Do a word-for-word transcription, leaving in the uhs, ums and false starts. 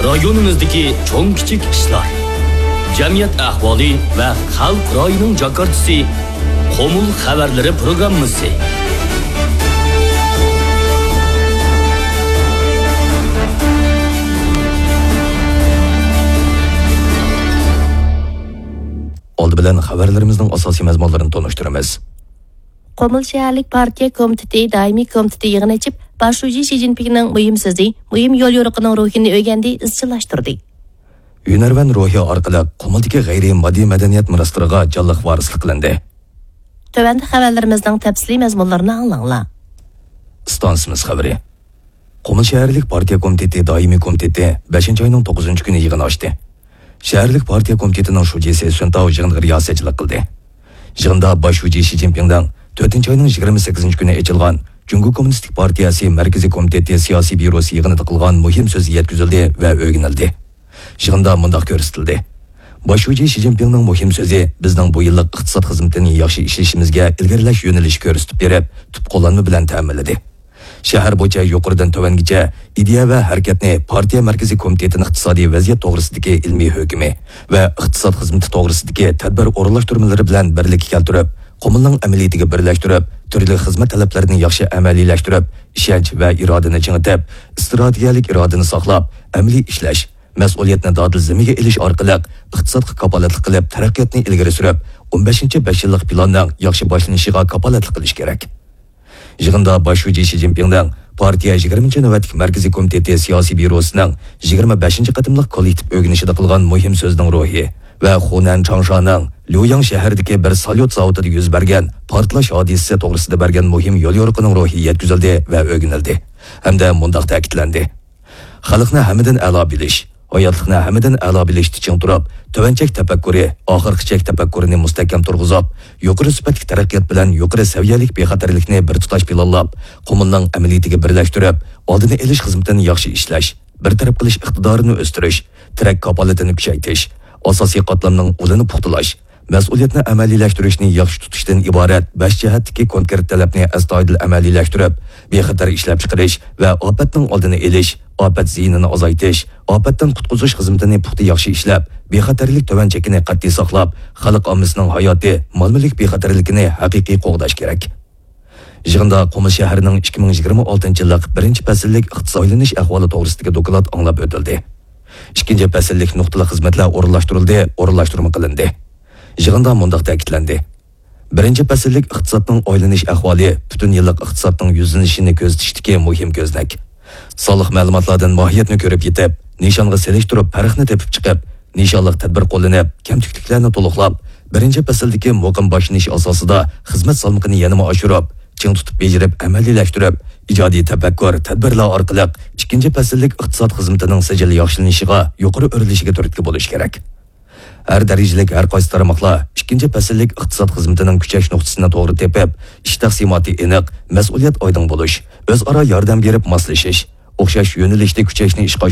رايونىمىزدىكى چوڭ-كىچىك ئىشلار، جەمئىيەت ئەھۋالى ۋە خەلق رايىنىڭ جاكارتىسى، قۇمۇل خەۋەرلىرى پروگراممىسى. ئالدى بىلەن خەۋەرلىرىمىزنىڭ ئاساسىي مەزمۇنلىرىنى تونۇشتۇرىمىز. قۇمۇل شەھەرلىك پارتىيە كومىتېتى دائىمىي كومىتېتى يىغىن ئېچىپ، باش شۇجى شى جىنپىڭنىڭ مۇھىم سۆزى، مۇھىم يوليورۇقىنىڭ روھىنى ئۆگەندى، ئىزچىللاشتۇردى. ھۈنەرۋەن روھى ئارقىلىق قۇمۇلدىكى غەيرىي ماددىي مەدەنىيەت مىراسلىرىغا جانلىق ۋارىسلىق قىلىندى. تۆۋەندە خەۋەرلىرىمىزنىڭ تەپسىلىي مەزمۇنلىرىنى ئاڭلاڭلار. ئىستانسىمىز خەۋىرى. قۇمۇل شەھەرلىك پارتىيە كومىتېتى دائىمىي كومىتېتى بەشىنچى ئاينىڭ توققۇزىنچى كۈنى يىغىن ئاچتى. شەھەرلىك پارتىيە كومىتېتىنىڭ شۇجىسى سۈن تاۋ يىغىنغا رىياسەتچىلىك قىلدى. يىغىندا باش شۇجى شى جىنپىڭنىڭ تۆتىنچى ئاينىڭ يىگىرمە سەككىزىنچى كۈنى ئېچىلغان جۇڭگو كوممۇنىستىك پارتىيەسى مەركىزىي كومىتېتى سىياسىي بيۇروسى يىغىنىدا قىلغان مۇھىم سۆزى يەتكۈزۈلدى ۋە ئۆگىنىلدى. يىغىندا مۇنداق كۆرسىتىلدى. باش شۇجى شى جىنپىڭنىڭ مۇھىم سۆزى بىزنىڭ بۇ يىللىق ئىقتىساد خىزمىتىنى ياخشى ئىشلىشىمىزگە ئىلگىرىلەش يۆنىلىشى كۆرسىتىپ بېرىپ، تۈپ قوللانما بىلەن تەمىنلىدى. شەھەر بويىچە يۇقىرىدىن تۆۋەنگىچە ئىدىيە ۋە ھەرىكەتنى پارتىيە مەركىزىي كومىتېتىنىڭ ئىقتىسادىي ۋەزىيەت توغرىسىدىكى ئىلمىي ھۆكمى ۋە ئىقتىساد خىزمىتى توغرىسىدىكى تەدبىر ئورۇنلاشتۇرمىلىرى بىلەن بىرلىككە كەلتۈرۈپ، قۇمۇلنىڭ ئەمەلىيىتىگە بىرلەشتۈرۈپ، تۈرلۈك خىزمەت تەلەپلىرىنى ياخشى ئەمەلىيلەشتۈرۈپ، ئىشەنچ ۋە ئىرادىنى چىڭىتىپ، ئىستراتېگىيەلىك ئىرادىنى ساقلاپ، ئەمەلىي ئىشلەش، مەسئۇلىيەتنى دادىل زىممىگە ئېلىش ئارقىلىق ئىقتىسادقا كاپالەتلىك قىلىپ، تەرەققىياتنى ئىلگىرى سۈرۈپ، ئون بەشىنچى بەش يىللىق پىلاننىڭ ياخشى باشلىنىشىغا كاپالەتلىك قىلىش كېرەك. يىغىندا باش شۇجى شى جىنپىڭنىڭ پارتىيە يىگىرمىنچى نۆۋەتلىك مەركىزىي كومىتېتى سىياسىي بيۇروسىنىڭ يىگىرمە بەشىنچى قېتىملىق كوللېكتىپ ئۆگىنىشىدە قىلغان مۇھىم سۆزىنىڭ روھى ۋە خۇنەن چاڭشانىڭ ليۇياڭ شەھىرىدىكى بىر ساليۇت زاۋۇتىدا يۈز بەرگەن پارتلاش ھادىسىسى توغرىسىدا بەرگەن مۇھىم يوليورۇقىنىڭ روھى يەتكۈزۈلدى ۋە ئۆگىنىلدى ھەمدە مۇنداق تەكىتلەندى. خەلقنى ھەممىدىن ئەلا بىلىش، ھاياتلىقنى ھەممىدىن ئەلا بىلىشتە چىڭ تۇرۇپ، تۆۋەن چەك تەپەككۇرى، ئاخىرقى چەك تەپەككۇرىنى مۇستەھكەم تۇرغۇزۇپ، يۇقىرى سۈپەتلىك تەرەققىيات بىلەن يۇقىرى سەۋىيەلىك بىخەتەرلىكنى بىر تۇتاش پىلانلاپ، قۇمۇلنىڭ ئەمەلىيىتىگە بىرلەشتۈرۈپ، ئالدىنى ئېلىش خىزمىتىنى ياخشى ئىشلەش، بىر تەرەپ قىلىش ئىقتىدارىنى ئۆستۈرۈش، تىرەك كاپالىتىنى كۈچەيتىش، ئاساسىي قاتلامنىڭ ئۇلىنى پۇختىلاش، مەسئۇلىيەتنى ئەمەلىيلەشتۈرۈشنى ياخشى تۇتۇشتىن ئىبارەت بەش جەھەتتىكى كونكرېت تەلەپنى ئەستايىدىل ئەمەلىيلەشتۈرۈپ، بىخەتەر ئىشلەپچىقىرىش ۋە ئاپەتنىڭ ئالدىنى ئېلىش، ئاپەت زىيىنىنى ئازايتىش، ئاپەتتىن قۇتقۇزۇش خىزمىتىنى پۇختا ياخشى ئىشلەپ، بىخەتەرلىك تۆۋەن چېكىنى قەتئىي ساقلاپ، خەلق ئاممىسىنىڭ ھاياتى، مال-مۈلۈك بىخەتەرلىكىنى ھەقىقىي قوغداش كېرەك. يىغىندا قۇمۇل شەھىرىنىڭ ئىككى مىڭ يىگىرمە ئالتىنچى يىللىق بىرىنچى پەسىللىك ئىقتىساد ئايلىنىش ئەھۋالى توغرىسىدىكى دوكلات ئاڭلاپ ئۆتۈلدى. ئىككىنچى پەسىللىك نۇقتىلىق خىزمەتلەر ئورۇنلاشتۇرۇلدى، ئورۇنلاشتۇرما قىلىندى. يىغىندا مۇنداق تەكىتلەندى. بىرىنچى پەسىللىك ئىقتىسادنىڭ ئايلىنىش ئەھۋالى پۈتۈن يىللىق ئىقتىسادنىڭ يۈزلىنىشىنى كۆزىتىشتىكى مۇھىم كۆزنەك. سانلىق مەلۇماتلاردىن ماھىيەتنى كۆرۈپ يېتىپ، نىشانغا سېلىشتۇرۇپ پەرقنى تېپىپ چىقىپ، نىشانلىق تەدبىر قوللىنىپ، كەمتۈكلۈكلەرنى تولۇقلاپ، بىرىنچى پەسىلدىكى مۇقىم باشلىنىش ئاساسىدا خىزمەت سالمىقىنى يەنىمۇ ئاشۇرۇپ، چىڭ تۇتۇپ بېجىرىپ ئەمەلىيلەشتۈرۈپ، ئىجادىي تەپەككۇر، تەدبىرلەر ئارقىلىق ئىككىنچى پەسىللىك ئىقتىساد خىزمىتىنىڭ سىجىل ياخشىلىنىشىغا يۇقىرى ئۆرلىشىگە تۈرتكە بولۇش كېرەك. ھەر دەرىجىلىك ھەر قايسى تارماقلار ئىككىنچى پەسىللىك ئىقتىساد خىزمىتىنىڭ كۈچەش نۇقتىسىنى توغرا تېپىپ، ئىش تەقسىماتى ئېنىق، مەسئۇلىيەت ئايدىڭ بولۇش، ئۆزئارا ياردەم بېرىپ ماسلىشىش، ئوخشاش يۆنىلىشتە كۈچەشنى ئىشقا